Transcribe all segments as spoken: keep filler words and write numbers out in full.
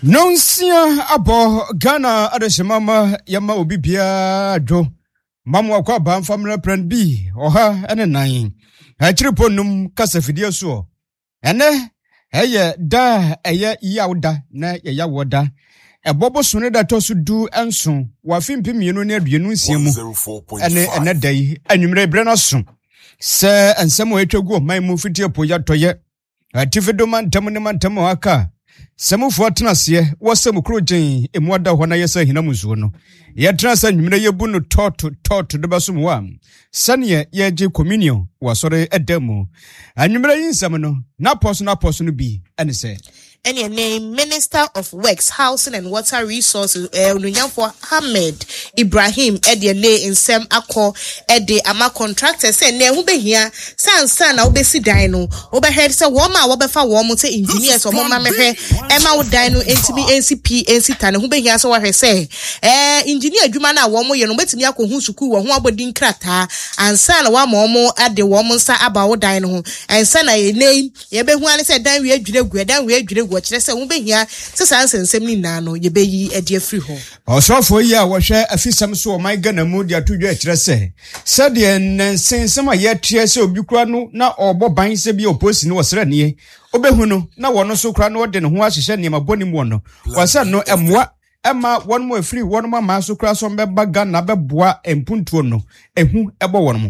Nonsia abɔ Ghana adehyema ma yɛma obi biara dwo ma mo akɔ aba mfa mmerɛ prɛn bi ɔha ne nan akyiri po num kasafidie soɔ. Ɛnɛ ɛyɛ da a ɛyɛ yaw da na yɛyawoɔ da. Ɛbɔ bosome da ɛtɔ so du nson wɔ afe mpem mmienu ne aduonu nsia mu ɛne ɛnɛ da yi anwummerɛ berɛ no so sɛ nsɛm a ɛtwa gu ɔman mu fitie po yɛtɔyɛ atifi do mantam ne mantam a aka sɛmufoɔ tena aseɛ wɔ sɛm kuro gyen emu ada hɔ na yɛsɛ ahina mu nsuo no yɛtena sɛ anwummerɛ yɛbu no tɔɔto tɔɔto de bɛsom wɔ a sɛneɛ yɛgye communion wɔ asɔre ɛda mu. Anwummerɛ yi nsɛm no n'apɔ so n'apɔ so no bi ɛne sɛ ɛne ɛnɛ Minister of Works, Housing and Water Resources, eh, Onunyamfo Ahmed Ibrahim, ɛde ɛnɛ nsɛm akɔ ɛde ama contractor sɛ ɛnɛ ɛho behia sɛ ansa na wobɛsi dan no, wobɛhwɛ sɛ wɔn a wɔbɛfa wɔn sɛ engineers, wɔn ma mɛhwɛ ɛma wo dan no ntumi nsi pii nsi ta ne ho behia sɛ wɔahwɛ sɛ ɛɛ engineer adwuma no a wɔn yɛ no, wɔbɛtumi akɔhu sukuu wɔ ho abɔdin krataa ansa na wɔama wɔn ade wɔn nsa aba wo dan no ho. Ansa na ɛnɛ yɛbɛhu ane sɛ dan wie adwiri gu, ɛdan wie adwiri gu, ɔkyerɛ sɛ wobɛhia sɛ saa nsɛnsɛm no nyinaa no yɛbɛyi adi afiri hɔ. Ɔsɔfoɔ yi a wɔhwɛ afisɛm so ɔman Ghana mu de ato dwa kyerɛ sɛ sɛdeɛ nnɛnsensɛm a yɛteɛ sɛ obi kura no na ɔrebɔ ban sɛ bi ɔpolisi no wɔsrɛneɛ wobɛhu no na wɔno nso kura no ɔde ne ho ahyehyɛ nneɛma bɔne mu wɔ no wɔsɛ no ɛmmoa ɛma wɔn mu afiri wɔn mu ama so kura so bɛba Ghana bɛboa mpuntuo no ehu ɛbɔ wɔn mu.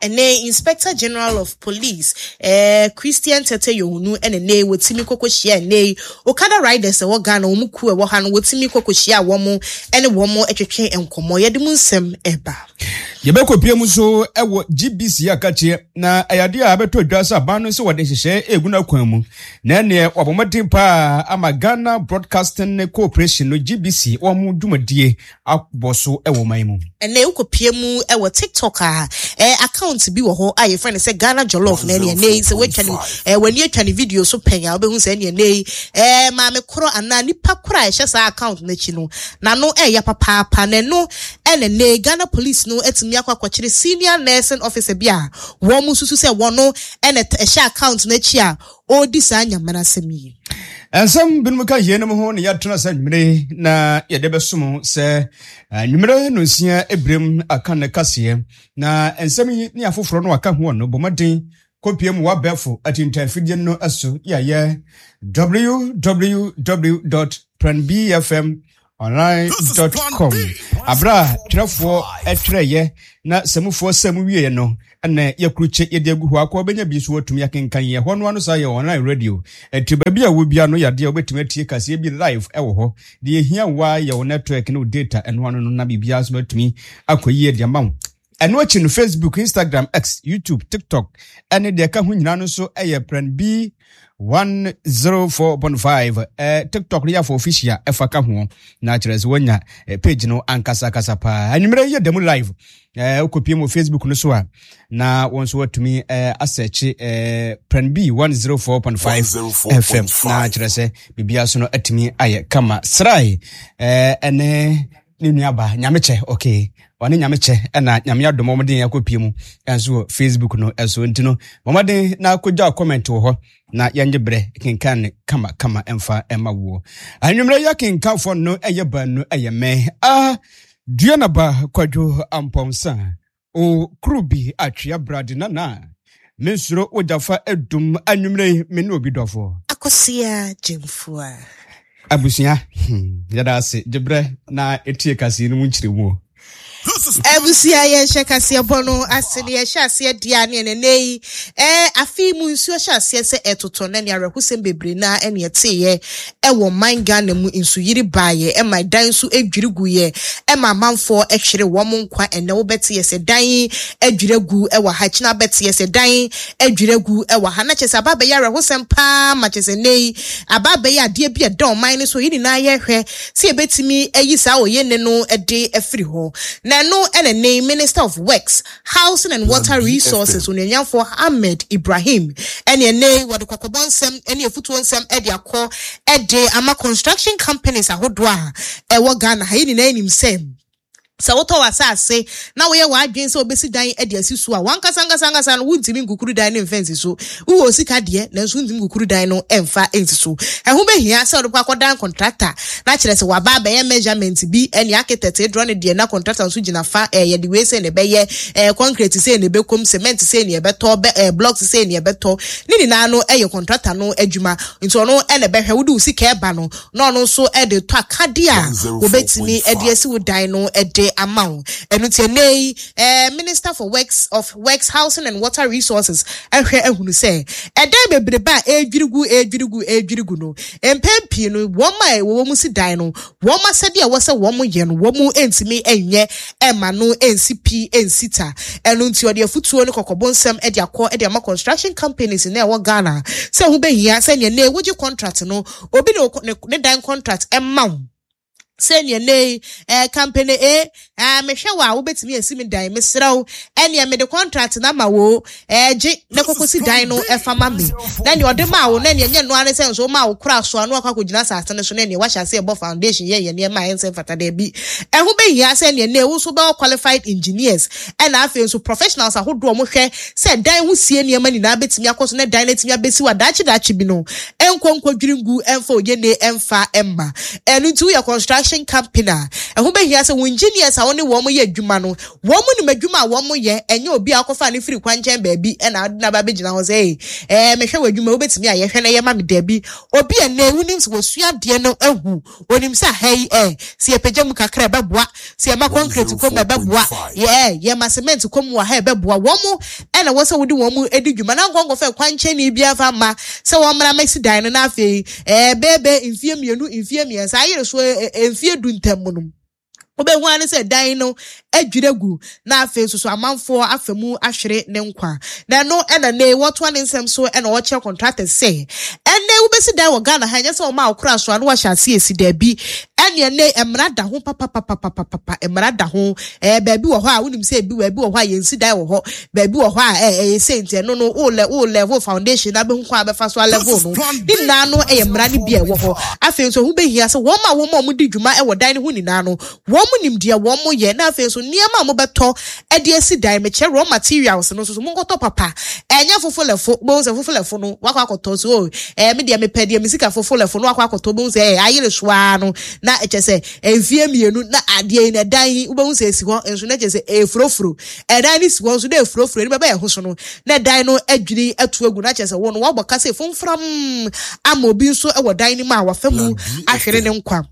Ɛnɛ Inspector General of Police, eh, Christian Tete Yohunu, ɛna ɛnɛ wɔtumi kɔkɔ hyia ɛnɛ Okada riders ɛwɔ Ghana, wɔn kuo ɛwɔ ha no, wɔtumi kɔkɔ hyia wɔn ɛne wɔn ɛtwetwe nkɔmɔ. Yɛde mu nsɛm ɛba. Yɛbɛkɔ pie mu nso ɛwɔ G B C akakyeɛ na ɛyɛ adeɛ a abɛtɔ dwa sɛ aban no sɛ wɔde nhyehyɛe egu no akwan mu na ɛneɛ wɔabɔ mmɔden paa ama Ghana Broadcasting Corporation no, G B C, wɔn mo dwumadie abɔ so ɛwɔ ɔman mu. Ɛnɛ wokɔpie mu ɛwɔ TikTok a, ɛɛ account bi wɔ hɔ a yɛfrɛ no sɛ Ghana Jollof, na ɛne ɛnɛ yi sɛ woatwa ne ɛɛ w'ani atwa ne video so pɛn a, wobɛhu sɛ ɛne ɛnɛ yi ɛɛ maame korɔ anaa nipa korɔ a ɛhyɛ saa account n'akyi no n'ano ɛyɛ papaapa. Na ɛno ɛna ɛnɛ Ghana Police no atumi akɔ akɔkyerɛ senior nursing officer bi a wɔn mo susu sɛ wɔn no ɛna ɛhyɛ account n'akyi a ɔredi saa nyamena asɛm yi. Nsɛm binom ka yeinom ho ne yɛatena sɛ anwummere na yɛde bɛsom sɛ anwummere no nsia ebirem aka ne kaseɛ na nsɛm yi ne afoforɔ no aka ho no bɔ mmɔden kɔpie mu wabɛɛfo atintanfidie no so yɛayɛ w w w dot pranbfm online dot com aberɛ a twerɛfoɔ twerɛeɛ na sɛmufoɔ sɛ mu wieɛ no ɛna yɛkurukye yɛde agu hɔ akɔ wobɛnya bi so watumi akenkan yɛ hɔ no ano saa. Yɛ online radio ɛti baabi a wɔ bia no yadeɛ a wobɛtumi atie kaseɛ bi live ɛwɔ hɔ. Deɛ ɛhia waa yɛ wo network ne wo data ɛno ano no na biribiara nso atumi akɔ yie de ama wo. Ɛno akyi no, Facebook, Instagram, X, YouTube, TikTok ɛne deɛ ɛka ho nyinaa no nso ɛyɛ Prɛn B one oh four point five. eh, TikTok no yɛafɔ official ɛfa ka ho na kyerɛ sɛ woanya eh, page no ankasa kasa paa. Anwummerɛ yi yɛ da mu live. eh, wokɔpie mu wɔ Facebook no so a na wɔn nso watumi eh, asɛkye eh, Prɛn B one oh four point five F M na kyerɛ sɛ biribiara so no atumi ayɛ kama. Srae eh, ɛne ne nuaba Nyamekyɛ, okay, ɔne Nyamekyɛ ɛna Nyame adom ɔmɔden yɛn akɔpie mu ɛnso wɔ Facebook no ɛso. Nti no mɔmɔden na akɔgya comment wɔ hɔ na yɛngye berɛ kenkan ne kama kama ɛmfa ɛma woɔ. Anwummerɛ yɛ kenkanfoɔ no ɛyɛ baanu, ɛyɛ mɛ a Duanaba Kwadwo Ampɔnsa o kuro bi atwea brade nana mensuro wogyafa adum. Anwummerɛ yi me ne obi dɔfoɔ Akosua Gyemfua. Abusua, hmm, yɛda ase gye berɛ na ɛtie kaseɛ no mu nkyerɛmu. Abusua, yɛhyɛ kaseɛbɔ no ase ne yɛhyɛ aseɛ deɛ a ne ɛnɛnɛ yi ɛɛ afei mu nsuo hyɛ aseɛ sɛ ɛtotɔ na ne awerɛhosɛm bebree na ɛne ɛteeɛ ɛwɔ man Ghana mu. Nsuyiri baeɛ ɛma dan nso adwiri guyɛ ɛma amanfoɔ ɛhwere wɔn nkwa. Ɛnɛ wobɛteɛ sɛ dan adwiri agu ɛwɔ ha, kyina bɛteɛ sɛ dan adwiri agu ɛwɔ ha, na kyerɛ sɛ aba abɛyɛ awerɛhosɛm paa ma kyerɛ sɛ nnɛ yi aba abɛyɛ adeɛ bi a ɛda ɔman no so yi nyinaa. Yɛhwɛ sɛ yɛbɛtumi ayi saa ɔyɛ ne no de afiri hɔ na ɛno ɛna ne Minister of Works, Housing and Water Resources, Onuonyamfoɔ Ahmed Ibrahim, ɛne ɛnɛ wɔde kɔkɔbɔ nsɛm ɛne afutuo nsɛm ɛde akɔ ɛde ama construction companies ahodoɔ a ɛwɔ Ghana ha. Yi nyinaa anim sɛ Sɛ wotɔ w'asase na woyɛ w'adwene sɛ wobɛsi dan de asi so a, wankasa nkasa nkasa no, wontumi nkukuru dan no mfa nsi so. Wowɔ sika deɛ, nanso wontumi nkukuru dan no mfa nsi so. Ɛho bɛhia sɛ wode kɔ akɔdan contractor na kyerɛ sɛ waba abɛyɛ measurement bi, ɛne architect draw ne deɛ na contractor nso gyina fa ɛɛ yɛde wei sɛ ne ɛbɛyɛ ɛɛ concrete sɛ ne ɛbɛkɔm, cement sɛ ne ɛbɛtɔ, bɛ ɛɛ blocks sɛ ne ɛbɛtɔ. Ne nyinaa no ɛyɛ contractor no adwuma, nti ɔno ɛna ɛbɛhwɛ. Wode wo sika ɛba no na ɔno nso ɛde tɔ akadeɛ a wobɛtumi ɛde asi wo dan no ɛde ama wo. Ɛno nti ɛnɛ yi ɛɛ Minister for Works of Works, Housing and Water Resources ɛhwɛ ehunu sɛ ɛdan bebrebe a ɛredwiri gu, ɛredwiri gu, ɛredwiri gu no, mpɛn pii no, wɔn a wɔwɔ mu si dan no, wɔn asɛdeɛ a ɛwɔ sɛ wɔn yɛ no, wɔn ntumi nyɛ ɛma no nsi pii nsi ta. Ɛno nti ɔde afutuo ne kɔkɔbɔ nsɛm ɛde akɔ ɛde ama construction companies na ɛwɔ Ghana sɛ ɛho bɛhia sɛ nea ne wogye contract no, obi ne ne dan contract ɛma wo sɛnea ne ɛɛ company A ɛɛ mehwɛ wɔ a wobɛtumi esi mi dan, mesrɛ wo, ɛnea mede contract na ma wo, ɛɛ gye na kɔkɔ si dan no ɛfa ma me. Na nea ɔde ma wo na nea nyɛ no ara sɛ nso ma wo kora so ano akɔ akɔgyina asase no so na nea wahyɛ ase ɛbɔ foundation yɛ yɛ nneɛma a ɛnsɛ mfata. Daabi, ɛho bɛhia sɛ nea ne wo nso bɛwɔ qualified engineers, ɛna afei nso professionals ahodoɔ a wɔhwɛ sɛ dan ho sie nneɛma nyinaa bɛtumi akɔ so na dan no atumi abɛsi wɔ daakye daakye bi no, ɛnkɔ nkɔdwiri ngu, ɛmfa onye ne ɛmfa ɛmma. Ɛno nti woyɛ construction company a, ɛho bɛhia sɛ wo engineers a wo ne wɔn yɛ adwuma no, wɔn nim adwuma a wɔn yɛ. Ɛnyɛ obi a akɔfa ne firi kwankyɛn baabi ɛna ade na ba abɛgyina hɔ sɛ ɛɛ mehwɛ wɔ adwuma, wobɛtumi ayɛ, hwɛ na ɛyɛ ma me. Daabi, obi a nne wonim sɛ wɔsua adeɛ no ahu, onim sɛ ha yi ɛ sɛ yɛpagya mu kakra ɛbɛboa, sɛ yɛma concrete kɔm ɛbɛboa, yɛ yɛma cement kɔm wɔ ha ɛbɛboa. Wɔn mo ɛna wɔ sɛ wode wɔn mo adi dwuma na nkɔ nkɔfɛ kwankyɛn bi afa ma sɛ wɔn mmara mɛsi dan no, na afei ɛɛ bɛɛbɛ mfie mmienu, mfie mmiɛnsa ayere so mfie du ntam no, wobɛhu ane sɛ dan no adwiri agu na afei nso so amanfoɔ afa mu ahwere ne nkwa. Na ɛno ɛna ne wɔtoa ne nsɛm so ɛna wɔkyerɛ contractors sɛ ɛnɛ wobɛsi dan wɔ Ghana ha, ɛnyɛ sɛ wɔma akora so a na wɔahyɛ ase esi. Daabi, ɛne ɛnɛ mmara da ho papapapapapa, mmara da ho. ɛɛ baabi wɔ hɔ a wonim sɛ ebi baabi wɔ hɔ a yɛnsi dan wɔ hɔ, baabi wɔ hɔ a ɛɛ ɛyɛ sɛ nti ɛno no wo lɛ wo level foundation na bɛhu kwan a bɛfa so a level no. Ne nyinaa no ɛyɛ mmara no bi a ɛwɔ hɔ. Afei nso ho bɛhia sɛ wɔn a wɔn a wɔdi dwuma ɛwɔ dan no ho nyinaa no, wɔn nim deɛ wɔn yɛ. Na afei nso nneɛma a wɔbɛtɔ ɛde asi dan, mekyerɛ raw materials no nso so, monkɔtɔ papa, ɛnyɛ fofolɛfo. Bohu sɛ fofolɛfo no wakɔ akɔtɔ so o, ɛɛ me deɛ mepɛ deɛ me sika fofolɛfo no wakɔ akɔtɔ. Bohu sɛ ɛɛ ayere so ara no na ɛkyɛ sɛ mfie mmienu na adeɛ yi na ɛdan yi, wobɛhu sɛ esi hɔ nso na kyerɛ sɛ efurofuro. Ɛdan no si hɔ nso na efurofuro ɛni bɛbɛ ɛho so no na ɛdan no adwiri atu agu, na kyerɛ sɛ wɔn wabɔ kasa efomfram ama obi nso ɛwɔ dan no mu a wafa mu ahwere ne nkwa.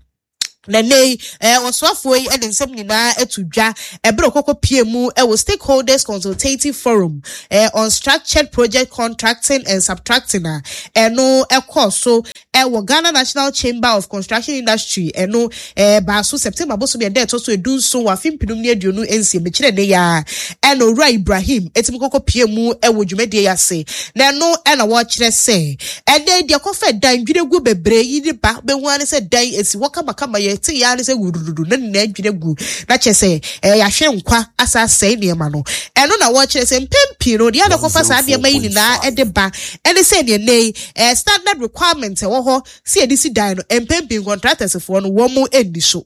Na nne yi ɛɛ ɔsoafoɔ yi de nsɛm nyinaa ato dwa ɛberɛ ɔkɔkɔ pie mu ɛwɔ Stakeholders Consultative Forum ɛɛ on Structured Project Contracting and Subtracting a ɛno ɛkɔɔ so ɛwɔ Ghana National Chamber of Construction Industry. Ɛno ɛɛ baaso September bosom yɛ dɛ ɛtɔ so edu nson wɔ afe mpem mmienu ne aduonu nsia. Mekyerɛ ne ya ɛna Owura Ibrahim etimi kɔkɔ pie mu ɛwɔ dwumadie yi ase, na ɛno ɛna wɔrekyerɛ sɛ ɛnɛ deɛ kɔfɛ dan dwiregu bebree yi de ba, bɛhu ane sɛ dan esi hɔ kamakama, yɛ te ya ne sɛ wudududu na nyinaa dwire gu, na kyerɛ sɛ ɛyɛ yɛahwɛ nkwa asa asɛe nneɛma no. Ɛno na wɔrekyerɛ sɛ mpɛn pii no, deɛ adakɔfa saa nneɛma yi nyinaa ɛde ba ɛne sɛ neɛ nne yi ɛɛ standard requirement ɛwɔ hɔ sɛ yɛde si dan no, mpɛn pii contractors foɔ no wɔn mo nni so,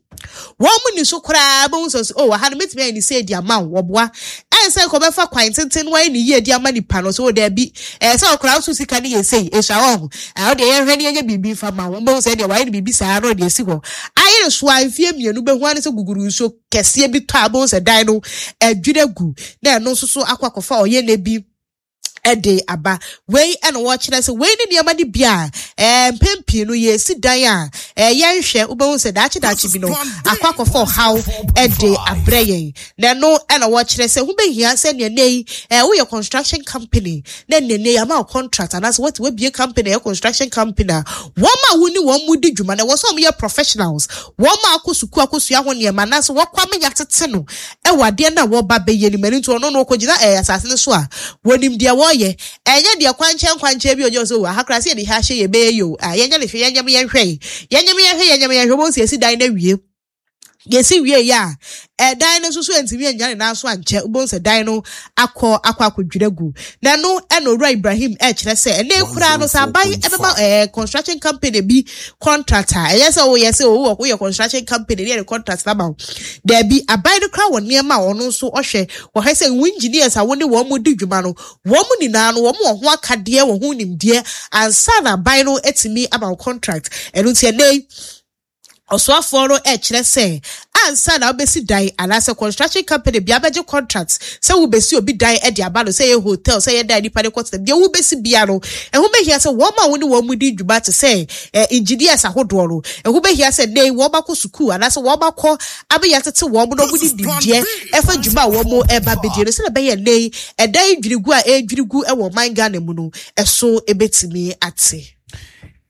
wɔn mo ni so koraa. Bɛhu sɛ oh, ha no mɛtumi ayɛ ne sɛ edi ama wo, wɔboa ɛnsɛ nkɔbɛfa kwan tenten no ayɛ ne yie di ama nipa no so o. Daabi, ɛɛ sɛ ɔkora nso sika no yɛ sei esua wɔn ho ɛɛ ɔdeɛ yɛhwɛ ne yɛnyɛ biribi nfa ma wɔn. Bɛhu sɛ ɛdeɛ wɔayɛ ne biribi saa na ɔde esi hɔ ayere so a mfie mmienu, bɛhu ane sɛ guguru nsuo kɛseɛ bi tɔ a, bɛhu sɛ dan no ɛdwiri agu, na ɛno nso so akɔ akɔfa ɔyɛ ne bi ɛde aba. Wei ɛna wɔkyerɛ sɛ wei ne nneɛma no bi a ɛɛ mpɛn pii no yɛsi dan a ɛɛ yɛnhwɛ, wobɛhu sɛ daakye daakye bi no akɔ akɔfa ɔhaw ɛde abrɛ yɛn. Na ɛno ɛna wɔkyerɛ sɛ ho bɛhia sɛ nea nne yi ɛɛ woyɛ construction company na nea nne yi ama wo contract anaasɛ wɔte wabie company ɛyɛ construction company a, wɔn a wɔne wɔn mu di dwuma na ɛwɔ sɛ wɔn yɛ professionals, wɔn a akɔ sukuu akɔsua ho nneɛma anaasɛ wɔkɔ ama yɛatete no ɛwɔ adeɛ no a wɔba bɛyɛ no mu. Ɛno nti ɔno no ɔkɔgyina ɛɛ asase no so a, wɔnim deɛ wɔreyɛ. Ɛnyɛ deɛ kwankyɛn kwankyɛn bi ɔnyɛ sɛ o aha koraa sɛ yɛde ha ahyɛ yɛ bɛyɛ yi o, a yɛnyɛ ne hwɛ, yɛnyɛ yɛnhwɛ yi, yɛnyɛ yɛnhwɛ, yɛnyɛ yɛnhwɛ. Wɔn si esi dan no awie Yɛsi wie yɛ a, ɛdan no nso so ntumi anya ne nan so ankyɛ. Wobɛhu sɛ dan no akɔ akɔ akɔdwira gu. Na ɛno ɛna Owura Ibrahim ɛkyerɛ sɛ ɛnɛ koraa no, sɛ aban ɛbɛma ɛɛ construction company bi contract a, ɛyɛ sɛ woyɛ sɛ owó woyɛ construction company ne yɛde contract na ma wo. Daabi, aban no koraa wɔ nneɛma a ɔno nso ɔhwɛ. Wɔhwɛ sɛ wo engineers a wo ne wɔn mo di dwuma no, wɔn mo nyinaa no, wɔn wɔ ho akadeɛ, wɔ ho nimdeɛ ansa na aban no atumi ama wo contract. Ɛno nti ɛnɛ yi ɔsoafoɔ no ɛkyerɛ sɛ ansa na wobɛsi dan anaasɛ construction company bi abɛgye contract sɛ wobɛsi obi dan de aba no, sɛ ɛyɛ hotel, sɛ ɛyɛ dan nipa de kɔtena deɛ wobɛsi bia no, ɛho bɛhia sɛ wɔn a wo ne wɔn mu di dwuma te sɛ eh, engineers ahodoɔ no, ɛho bɛhia sɛ nnɛ yi wɔn akɔ sukuu anaasɛ wɔn akɔ abɛyɛ tete wɔn na wɔn de nimdeɛ ɛfa dwuma a wɔn ɛba bɛdie no, sɛdeɛ ɛbɛyɛ nnɛ yi ɛdan dwirigu a ɛredwirigu ɛwɔ ɔman Ghana mu no, ɛso ɛbɛtumi ate.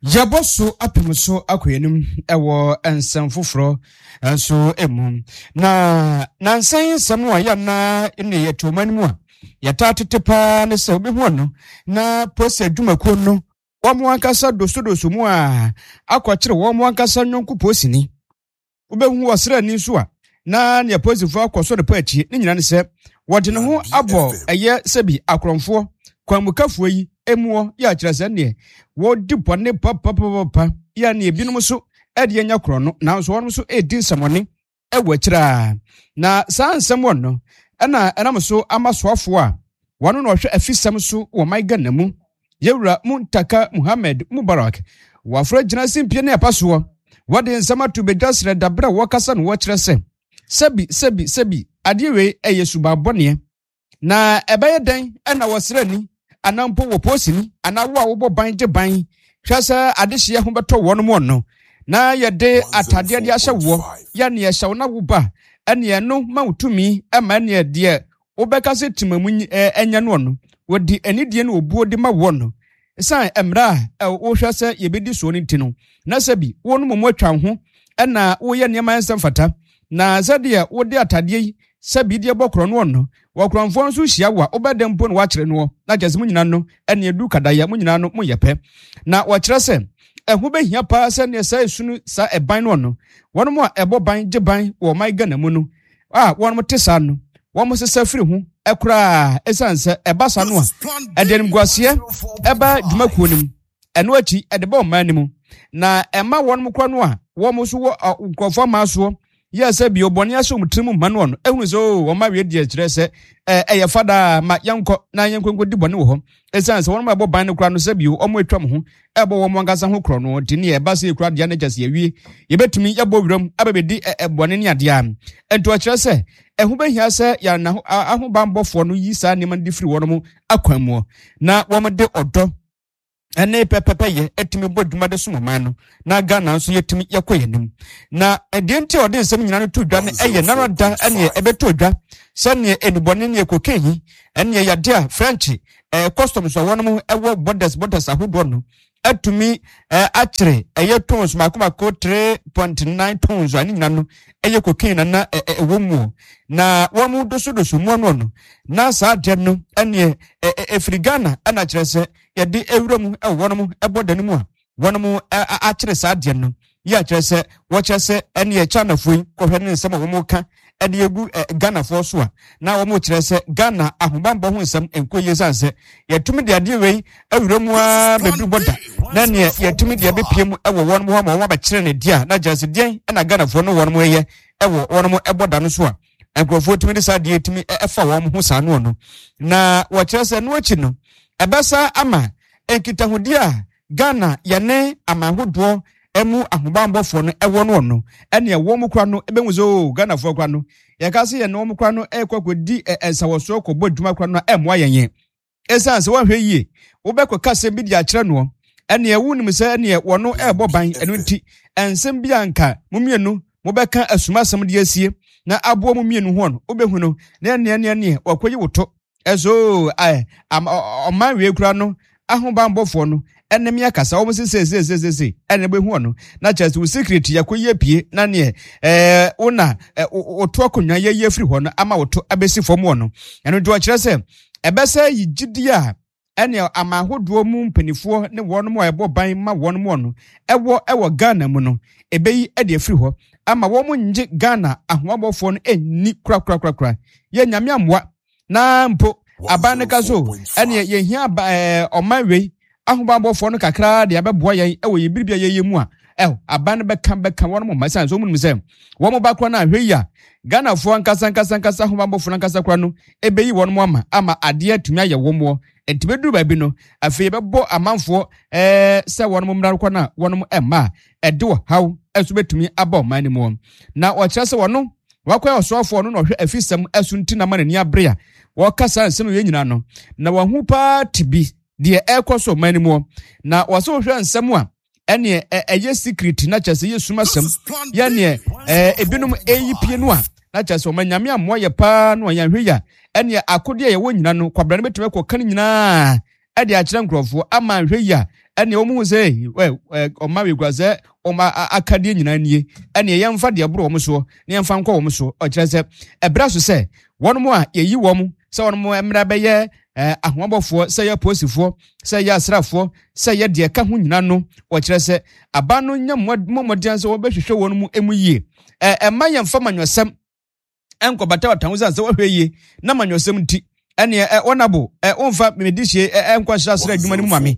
Yɛbɔ so apem so akɔ anim ɛwɔ nsɛm foforɔ nso mu. Na nansan nsɛm a yɛna ne yɛte ɔman no mu a yɛtaa tete paa ne sɛ wobɛhu no na polisi adwumakuo no, wɔn ankasa dosodoso mu a akɔkyere wɔn ankasa nyɔnko polisini. Wobɛhu ɔsraani nso a na nea polisifoɔ akɔ so ne pa akyi ne nyina ne sɛ wɔde ne ho abɔ ɛyɛ sɛbi akorɔmfoɔ kwanmukafoɔ yi emuɔ yɛ akyerɛ sɛ neɛ wɔdi bɔne papapapa yɛ ne ebinom nso ɛde anya korɔ no, nanso wɔn nso edi nsɛmɔne ɛwɔ akyire a. Na saa nsɛm wɔ no ɛna ɛnam so ama soafoɔ a wɔn na ɔhwɛ afisɛm so wɔ man Ghana mu, Yɛwura Muntaka Muhammed Mubarak, wɔafrɛ gyina simpie ne ɛpa soɔ. Wɔde nsɛm ato badwa srɛ daberɛ a wɔkasa no, wɔkyerɛ sɛ sɛbi sɛbi sɛbi adeɛ wei ɛyɛ suban bɔneɛ, na ɛbɛyɛ dɛn ɛna wɔsrɛni anaa mpo wɔ posini anaa wo a wobɔ ban gye ban hwɛ sɛ adehyeɛ ho bɛtɔ wɔn mu no na yɛde atadeɛ de ahyɛ woɔ yɛ neɛ hyɛ wo na wo ba ɛneɛ no ma wo tumi ɛma ɛneɛ deɛ wobɛka sɛ timamu ɛnyɛ no no, wɔde anidie ne obuo de ma woɔ no. Ɛsiane mmerɛ a wohwɛ sɛ yɛbɛdi soɔ no nti no, na sɛ bi wo no mmom atwa wo ho ɛna woyɛ nneɛma nsɛm fata na sɛdeɛ wode atadeɛ yi sɛ bi deɛ bɔ korɔ no no, wɔkorɔmfoɔ nso hyia wo a, wobɛdɛ mpo na woakyerɛ noɔ na kyerɛ sɛ mo nyinaa no ɛne edu kadayɛ, mo nyinaa no moyɛ pɛ. Na wɔkyerɛ sɛ ɛho bɛhia paa sɛ neɛ saa esunu saa ɛban no no, wɔn a ɛbɔ ban gye ban wɔ ɔman Ghana mu no a wɔn te saa no, wɔn sesa firi ho ɛkoraa, ɛsiane sɛ ɛba saa no a, ɛde animguaseɛ ɛba dwumakuo no mu. Ɛno akyi ɛde ba ɔman no mu na ɛma wɔn kora no a wɔn nso wɔ nkurɔfoɔ amaa soɔ yɛ sɛ bio bɔne ahyɛ wɔn tirim ma no no ehunu sɛ oo wɔn awie deɛ kyerɛ sɛ ɛɛ ɛyɛ fadaa ma yɛnkɔ na yɛnkɔ nkɔ di bɔne wɔ hɔ, ɛsiane sɛ wɔn a ɛbɔ ban no kora no sɛ bio wɔn atwa mo ho ɛbɔ wɔn ankasa ho korɔ no. Nti ne ɛba sɛ ekura deɛ ne kyɛ sɛ yɛwie yɛbɛtumi yɛbɔ wuram abɛbɛdi ɛ bɔne ne adeɛ a. Nti ɔkyerɛ sɛ ɛho bɛhia sɛ yɛn ahobanbɔfoɔ no yi saa nneɛma no de firi wɔn akwan mu na wɔn de ɔdɔ ɛne pɛpɛpɛyɛ ɛtumi bɔ dwuma de som ɔman no na Ghana nso yɛtumi yɛkɔ yɛn anim. Na ɛdeɛ nti a ɔde nsɛm nyinaa no to dwa no, ɛyɛ nara da ɛneɛ ɛbɛtɔ dwa sɛneɛ enubɔne ne cocaine yi ɛneɛ yade a French ɛɛ customs a wɔn ɛwɔ borders borders ahodoɔ no atumi ɛɛ akyerɛ ɛyɛ tons mako mako three point nine tons a ne nyinaa no ɛyɛ cocaine na na ɛwɔ mu, na wɔn dosodoso mu ano no na saa adeɛ no ɛneɛ ɛɛ ɛfiri Ghana ɛna kyerɛ sɛ yɛde ewura mu ɛwɔ wɔn mo ɛbɔ dan mu a wɔn mo akyerɛ saa adeɛ no yi, akyerɛ sɛ wɔkyerɛ sɛ ɛneɛ Chinafoɔ yi kɔhwɛ ne nsɛm a wɔn ka ɛde egu ɛ Ghanafoɔ so a, na wɔn kyerɛ sɛ Ghana ahobanbɔ ho nsɛm nkɔ yie, san sɛ yɛtumi de adeɛ wei awura mu ara bɛduru bɔda na neɛ yɛtumi deɛ bɛpie mu ɛwɔ wɔn ho ama wɔn abɛkyerɛ ne deɛ a, na kyerɛ sɛ deɛn ɛna Ghanafoɔ no wɔn mo yɛ ɛwɔ wɔn mo ɛbɔ da no so a nkurɔfoɔ tumi de saa adeɛ tumi ɛfa wɔn ho saa no no. Na wɔkyerɛ sɛ no akyi no ɛbɛsa ama nkitahodie a Ghana yɛne aman ahodoɔ ɛmu ahobanbɔfoɔ no ɛwɔ no no, ɛne ɛwɔ mu kora no ɛbɛhu sɛ oo Ghanafoɔ kora no yɛka sɛ yɛne wɔn kora no ɛkɔ akɔdi nsawɔsoɔ kɔbɔ adwuma kora no a, ɛmmoa yɛn yɛn ɛsiane sɛ wɔnhwɛ yie wobɛkɔ kasɛm bi de akyerɛ noɔ, ɛneɛ wonim sɛ ɛneɛ wɔno ɛrebɔ ban. Ɛno nti ɛnsɛm bi a nka mo mmienu mobɛka asumasɛm de asie na aboa mu mmienu ho no, wobɛhu no na ɛneɛ neɛ neɛ wɔkɔyi wo to ɛso ɛ ɔman wie kura no ahobanbɔfoɔ no ɛne me akasa wɔn sɛ seeseeseesei ɛne bɛhu ɔno na kyerɛ sɛ wo secret yɛkɔ yie pie na neɛ ɛɛ wo na ɛ woto akonnwa yɛyie firi hɔ no ama woto abɛsi fam wɔ no. Ɛno nti wɔkyerɛ sɛ ɛbɛsɛ yi gyidi a Ɛne aman ahodoɔ mu mpanimfoɔ ne wɔn a ɛbɔ ban ma wɔn mu no ɛwɔ ɛwɔ Ghana mu no, ɛbɛyi ɛde afiri hɔ ama wɔn ngye Ghana ahoabɔfoɔ no ɛnni korakorakorakora. Yɛ Nyame amoa na mpo aban no ka so, ɛne yɛhia ɛɛ ɔman wei ahobanbɔfoɔ no kakra de abɛboa yɛn ɛwɔ yɛn biribi a yɛyɛ mu a, ɛw aban no bɛka bɛka wɔn mo ma san so wɔn nim sɛ wɔn ba kora no ahwɛ yi a, Ghanafoɔ ankasa ankasa ankasa ahobanbɔfoɔ no ankasa kora no ɛbɛyi wɔn mo ama ama adeɛ atumi ayɛ wɔn moɔ. Nti bɛduru baabi no, afei yɛbɛbɔ amanfoɔ ɛɛ sɛ wɔn mo mmra kɔ no a, wɔn mo ɛmma a ɛde ɔhaw ɛso bɛtumi aba ɔman no mu. Na ɔkyerɛ sɛ wɔno wakɔyɛ ɔsoafoɔ no na ɔhwɛ afisɛm ɛso, nti na ma n'ani abere a wɔka saa nsɛm yɛn nyinaa no, na wɔn ho paa te bi deɛ ɛrekɔ so ɔman no mu. Na wɔsɛ wohwɛ nsɛm a ɛneɛ ɛyɛ secret na kyerɛ sɛ yɛ sum asɛm yɛneɛ ɛɛ ebinom ɛyi pie no a, na kyerɛ sɛ ɔma Nyame amoa yɛ paa no a, yɛnhwɛ yi a, ɛneɛ akodeɛ a yɛwɔ nyina no, kwabra no bɛtumi akɔka no nyinaa ɛde akyerɛ nkurɔfoɔ ama nhwɛ yi a, ɛneɛ wɔn hu sɛ ɛ ɛ ɔma wei kura sɛ wɔn akadeɛ nyinaa nie, ɛneɛ yɛmfa deɛ boro wɔn soɔ na yɛmfa nkɔ wɔn soɔ. Ɔkyerɛ sɛ ɛbrɛ so sɛ wɔn a yɛyi wɔn sɛ wɔn mmerɛ bɛyɛ ɛɛ ahoabɔfoɔ, sɛ yɛ polisifoɔ, sɛ yɛ asraafoɔ, sɛ yɛ deɛ ka ho nyinaa no, wɔkyerɛ sɛ aban no nya mmɔmmɔden sɛ wɔbɛhwehwɛ wɔn mu emu yie. ɛɛ ɛma yɛmfa manyɔsɛm ɛnkɔbatabata ho sɛ sɛ wɔhwɛ yie na manyɔsɛm nti, ɛneɛ ɛ wɔnabo ɛ wɔmfa mede hyie ɛ ɛnkɔ hyɛ asra adwuma no mu mame.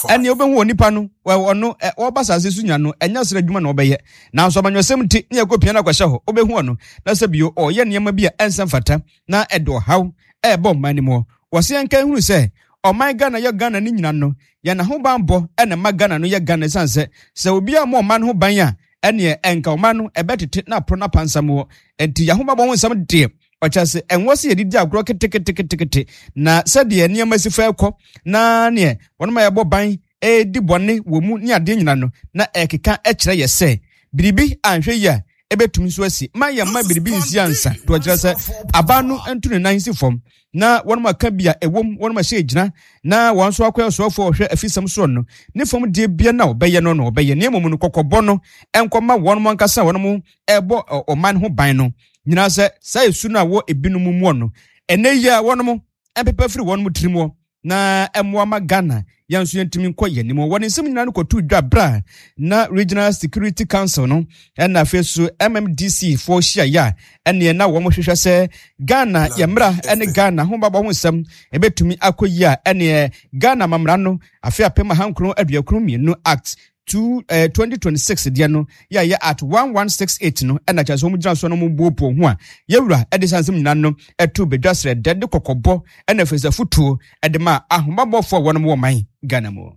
Ɛneɛ wobɛhu wɔ nipa no, ɔno ɛ wɔba asase so nya no, ɛnyɛ asra adwuma na ɔbɛyɛ, nanso amanyɔsɛm nti ne yɛkɔ pia no akɔhyɛ hɔ. Wobɛhu ɔno na sɛ bio ɔyɛ nneɛma bi a ɛnsɛ mfata na ɛde ɔhaw ɛɛbɔ ɔman no mu. Wɔsɛ yɛnka hunu sɛ ɔman Ghana yɛ Ghana no nyina no, yɛn ahobanbɔ ɛna ma Ghana no yɛ Ghana, ɛsiane sɛ sɛ obiara ma ɔman no ho ban a, ɛneɛ ɛnka ɔman no ɛbɛtete na aporɔ no apansam wɔ. Nti yɛahobabɔ ho nsɛm deɛ, ɔkyerɛ sɛ ɛnwɔ sɛ yɛde di agorɔ keteketekete, na sɛdeɛ nneɛma si fa ɛkɔ na neɛ wɔn a yɛbɔ ban ɛredi bɔne wɔ mu ne adeɛ nyina no, na ɛkeka ɛkyerɛ yɛ sɛ biribi anhwɛ yi a, ɛbɛtumi nso asi ma yɛn mma biribi nsi ansa. To ɔkyerɛ sɛ aban no nto ne nan si fam na wɔn aka bi a ɛwom, wɔn ahyɛ gyina na wɔn nso akɔyɛ ɔsoafoɔ ɔhwɛ afisɛm soɔ no ne fam deɛ bia na ɔbɛyɛ no na ɔbɛyɛ nea mmom no, kɔkɔbɔ no ɛnkɔma wɔn mo ankasa wɔn mo ɛbɔ ɔman ho ban no nyinaa sɛ saa esu no a wɔ ebinom mu no, ɛnɛ yi a wɔn mo ɛmpepa firi wɔn mo tirim wɔ na ɛmmoa ma Ghana yɛn nso yɛntumi nkɔ yɛn anim. Wɔde nsɛm nyinaa no kɔto dwa berɛ a na Regional Security Council no ɛna afei so M M D C foɔ hyiaeɛ a, ɛneɛ na wɔn hwehwɛ sɛ Ghana yɛ mmara ne Ghana ho babɔ ho nsɛm ɛbɛtumi akɔ yi a, ɛneɛ Ghana mamra no afe apem ahankron aduokron mmienu, Act two eh, twenty twenty-six deɛ no yɛ yɛ Act eleven sixty-eight no, ɛna kyerɛ sɛ wɔn gyina so no wɔn buobuo ho a, yɛwura ɛde san nsɛm nyinaa no ɛto bedwa srɛ dɛ de kɔkɔbɔ ɛna afei sɛ fotuo ɛde ma ahobabɔfoɔ a wɔn wɔ man Ghana mu.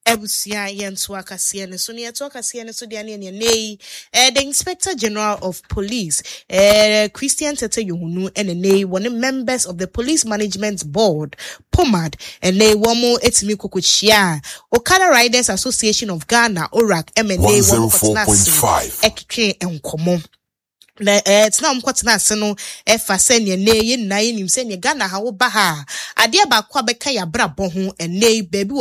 Abusua, yɛnto akaseɛ no so ne yɛto akaseɛ no so deɛ ne ɛneɛ nei eh, the Inspector General of Police, eh, Christian Tetteh Yohuno, ɛna nei wɔne members of the Police Management Board, POMAD, ɛnɛ wɔn mo etumi kɔkɔhyia Okada Riders Association of Ghana, ORAG, ɛmɛ nei wɔn kɔtena ase ɛtwetwe nkɔmɔ na ɛɛ tena wɔn kɔtena ase no, ɛfa sɛnea nne yɛn nyinaa yɛnim sɛnea Ghana ha woba ha a, adeɛ baako a bɛka yɛ abrabɔ ho ɛnɛ baabi wɔ